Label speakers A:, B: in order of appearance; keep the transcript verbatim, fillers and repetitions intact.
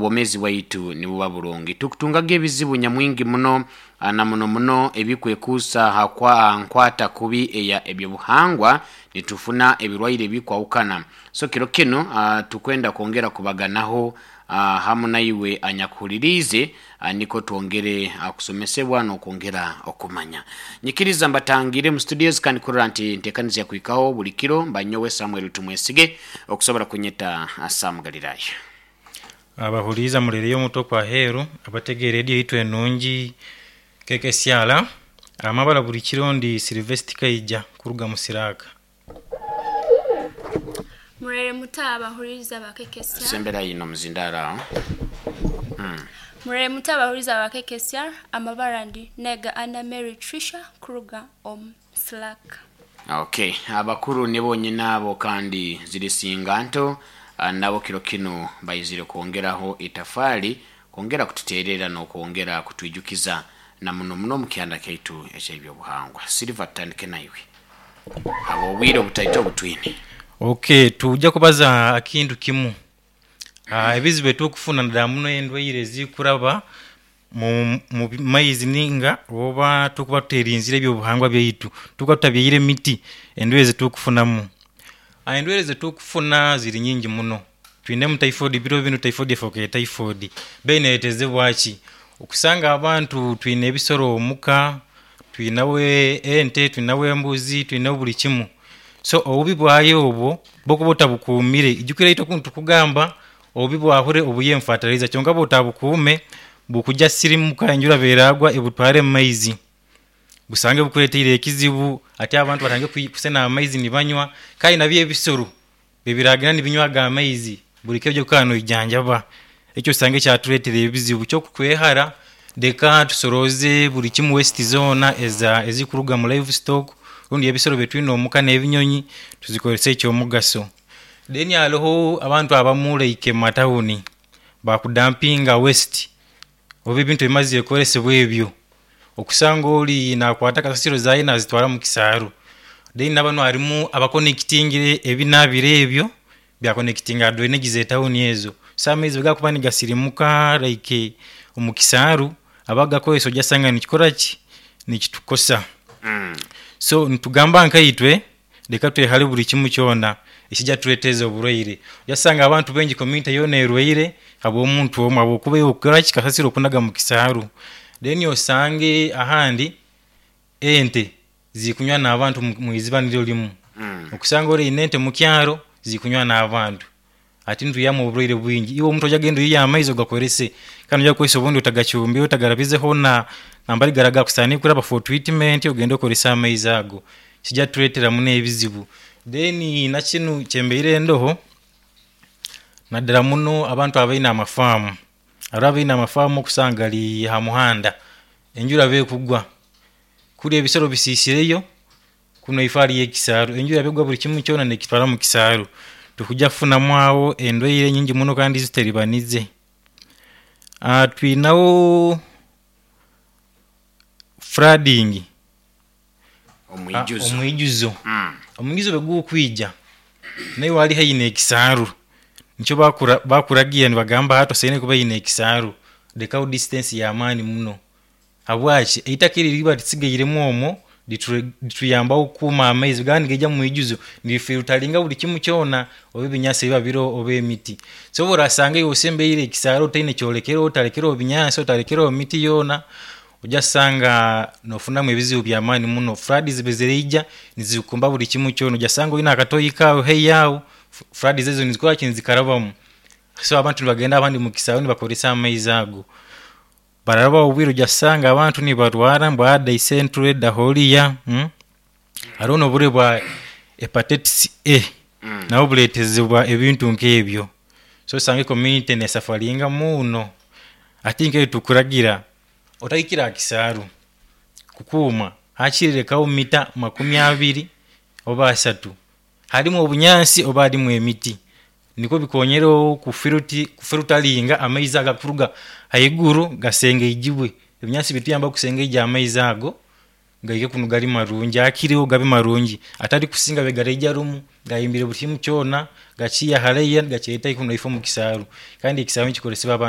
A: Obwomeezi bwaitu nibuba burungi, tukutungaga ebizibu nyamwingi muno na muno muno ebikwekuusa ha kwa nkwata kubi eya ebyobuhangwa, nitufuna ebirwaire ebikwahukana. So kiro kinu uh, tukwenda kwongera kubaganaho uh, hamu naiwe anyakuhuliriize, uh, niko twongere uh, kusomesebwa n'okwongera okumanya. Nyikiriza mbatangire mu studios kandi kurora nti ntekaniza yakuhikaho buli kiro mba nyowe Samuel Tumwesige, okusobora kunyeta uh, Sam Galilaya.
B: Abahuliiza mulereyo omuto kwa heeru abategeera rediyo yaitu enungi kekesyala amabara buli kiro, ndi Silvesti Kaija kuruga mu Siraaka.
C: Murere muto abahuliriza bakekesya.
A: Sembera yino muzindaro aho.
C: Murere muto abahuliriza bakekesya, amabara ndi Nega Anna Mary Trisha kuruga omu Slack.
A: Okay, abakuru nibo nyina abo kandi zirisinga nto, ah, nabo kiro kinu baizire kwongeraho itafaali, kwongera kututeerera n'okwongera kutwijukiza na muno muno mu kyanda kyaitu eky'ebyobuhangwa. Silver, tutandike naiwe abo obwire obutaito obutwine.
B: Okay, tujja kubaza akintu kimu. Ah, ebizibu etukufuna naddala muno endwaire ezikuraba mu, mu maizi ninga oba tukuba tuterinzire ebyobuhangwa byaitu, tukuba tutabyaire emiti, endwaire zetukufunamu. Ah, endwaire zetukufuna ziri nyingi muno. Twinemu typhoid, biro binu typhoid efookere typhoid, beera neretezebwa ki? Okusanga abantu twine ebisoro omuka, twinawo ente, twinawo embuzi, twinawo buli kimu. So obubi bwayo obwo bwokuba otabukuumire, ijukira itwe kunu tukugamba obubi bwahure obwiiye mu fertilizer, kyonka bwotabukuume bukujja sirimuka enjura bweragwa ebutware mumaizi, busange bukureteire ekizibu. Ati abantu batandike kwi- kusena amaizi nibanywa, kale nabyo ebisoro bibiragenda nibinywa ago amaizi, buli kiro ojja noijanjaba, ekyo osange kyatureetera ebizibu. Kyokukwehara, leka tusorooze buli kimu, waste zoona eza ezikuruga mu livestock rundi ebisoro byetwina omuka n'ebinyonyi, tuzikozese ekyomugaso. Then haroho abantu abamu like mumatawuni bakudampinga waste oba ebintu ebimazire okoresebwa ebyo, okusanga ori nakwata kasasiro zaawe nazitwara mukisaaru, then nabanu harimu abakonekitingire ebinaabiro ebyo byakonekitinga ha drainage z'etawuni ezo, so amaizi bwegakuba nigasirimuka like omu kisaaru abagakozesa ojja sanga nikikoraki, nikitukosa.
A: mm.
B: So nitugamba nkaitwe leka twehare buli kimu kyona ekijja tureeteza oburwaire. Ojja sanga abantu baingi community yoona erwaire habw'omuntu omwe, habwokuba iwe okukoraki, kasasiro okunaga mukisaaru. Then osange ahandi ente zikunywa n'abantu mu- mwiziba niryo limu.
A: Mm.
B: Okusanga ori oyine ente mukyaro zikunywa n'abantu, ati nitwihamu oburwaire bwingi. Iwe omuntu ojja genda oiye amaizi ogakorese kandi noija kukozesa obundi otagacumbire, otagarabizeho na nambari gari agakusaanire kuraba for treatment, ogende okorese amaizi ago, kijja tureetera muno ebizibu. Then nakinu kyembaire ndoho, naddala muno abantu abaine amafaamu, haroho abaine amafaamu okusanga gari ha muhanda, enjura bwekugwa kuri ebisoro bisisireyo, kunu haifo hariyo ekisaaru, enjura bwekugwa buli kimu kyona nekitwara mukisaaru, tukujja kufunamu awo endwaire nyingi muno kandi ezitutaribanize. Twinawo flooding.
A: Omwijuzo.
B: Omwijuzo.
A: mm.
B: Omwijuzo bwegukwija naiwe ali haihi n'ekisaaru, nikyo bakura bakuragira nibagamba hati osaine kuba oine ekisaaru, lekaho distance y'amaani muno. Habwaki? Eitaka eri eriba risigairemu omwo ritu rituyambaho okukuuma amaizi, bwegaba nigaija mumwijuzo nirifilteringa buli kimu kyona oba ebinyansi ebiba biroho oba emiti. So obu orasanga iwe osembereire ekisaaru otaine kyorekereho, otarekereho binyansi, otarekereho miti yoona, ojja sanga nofunamu ebizibu by'amaani muno. Floods bweziraija nizikumba buli kimu kyona, ojja sanga oyine akatoyi kaawe haihi aho, floods ezo nizikoraki, nizikarabamu. So abantu nibagenda abandi mukisaaru nibakozesa amaizi ago, bararabaho obwire ojja sanga abantu nibarwara ngu dysentery, diarrhoea, haroho n'oburwiire bwa hepatitis A,
A: Mm.
B: nabwo bureetezebwa ebintu nk'ebyo. So osange community nesafaringa muno. Ati nkaitwe tukuragira otahikire ha kisaaru kukuuma, hakiri lekaho mita makumi abiri oba asatu, harimu obunyansi oba harimu emiti, nikwo bikonyereho kufiruti kufilteringa amaizi ago agakuruga haiguru gasengeijibwe, ebinyansi bituyambaho okusengeija amaizi ago. Gaike kunu gali marungi, akireho gabe marungi, atali kusinga be garaija rumu gahimbire buli kimu kyona, gakiya haraiya, gakyeta kunu ifo mu kisaaru, kandi ekisaaru nikikoresebwa abantu.